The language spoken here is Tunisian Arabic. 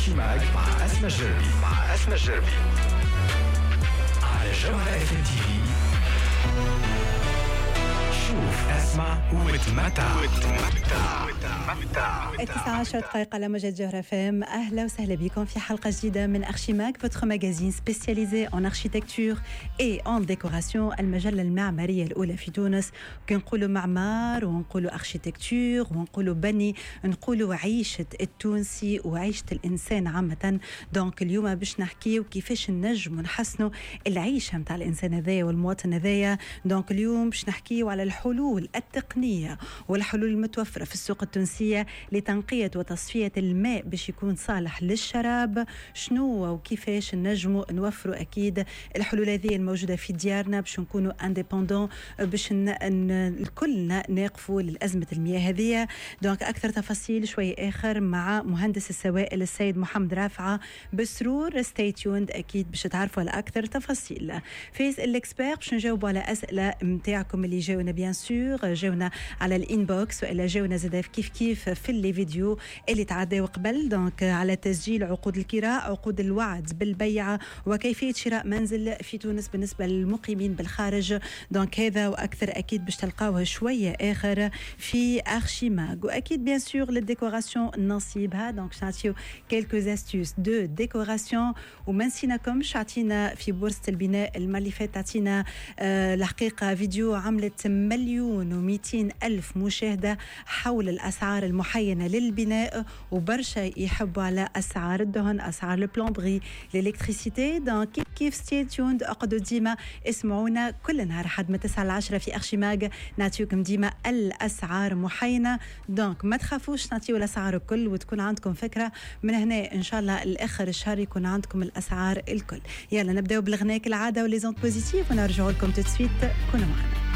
Archimag مع أسماء الجربي، مع أسماء الجربي على جوهرة اف ام تي في. شوف، اسمع وتمتع وتمتع وتمتع. 19 دقائق على موجة جوهرة فام. أهلا وسهلا بكم في حلقة جديدة من Archimag، votre magazine spécialisé en architecture et en décoration، المجلة المعمارية الأولى في تونس. كي نقولوا معمار ونقولوا architecture ونقولوا بني، نقولوا عيشة التونسي وعيشة الإنسان عامة. donc اليوم باش نحكيو كيفاش نجموا نحسنوا العيشة متاع الإنسان هذايا والمواطن هذايا. donc اليوم باش نحكيو على الحلول التقنية والحلول المتوفرة في السوق التونسية لتنقية وتصفية الماء باش يكون صالح للشراب. شنو وكيفاش نجموا نوفروا أكيد الحلول هذه الموجودة في ديارنا باش نكونوا indépendants، باش الكلنا نقفوا للأزمة المياه هذه. donc أكثر تفاصيل شوي آخر مع مهندس السوائل السيد محمد رافعة بسرور. stay tuned، أكيد باش تعرفوا على أكثر تفاصيل. في l'expert باش نجاوبوا على أسئلة نتاعكم اللي جاونا، bien sûr جاونا على ال inbox والا جاونا زاد كيف كيف في les vidéos اللي تعداو قبل. donc على تسجيل عقود الكراء، عقود الوعد بالبيع، وكيفية شراء منزل في تونس بالنسبة للمقيمين بالخارج. donc هذا واكثر اكيد باش تلقاوه شوية اخر في Archimag. واكيد bien sûr لل décoration نصيبها، donc نعطيو quelques astuces de décoration. وما نسيناكمش، عطينا في بورصة البناء المرة اللي فاتت، عطينا الحقيقة فيديو عملت 1,200,000 مشاهده حول الاسعار المحينه للبناء، وبرشا يحبوا على اسعار الدهن، اسعار ال plomberie، l'électricité. donc كيف كيف stay tuned، اقعدوا ديما اسمعونا كل نهار حد من 9 ل 10 في Archimag، نعطيكم ديما الاسعار محينه. donc ما تخافوش، نعطيو الاسعار الكل وتكون عندكم فكرة من هنا ان شاء الله الاخر الشهر يكون عندكم الاسعار الكل. يلا نبداو بالغناء كالعادة و les ondes positives ونرجعوا لكم tout de suite، كونوا معنا.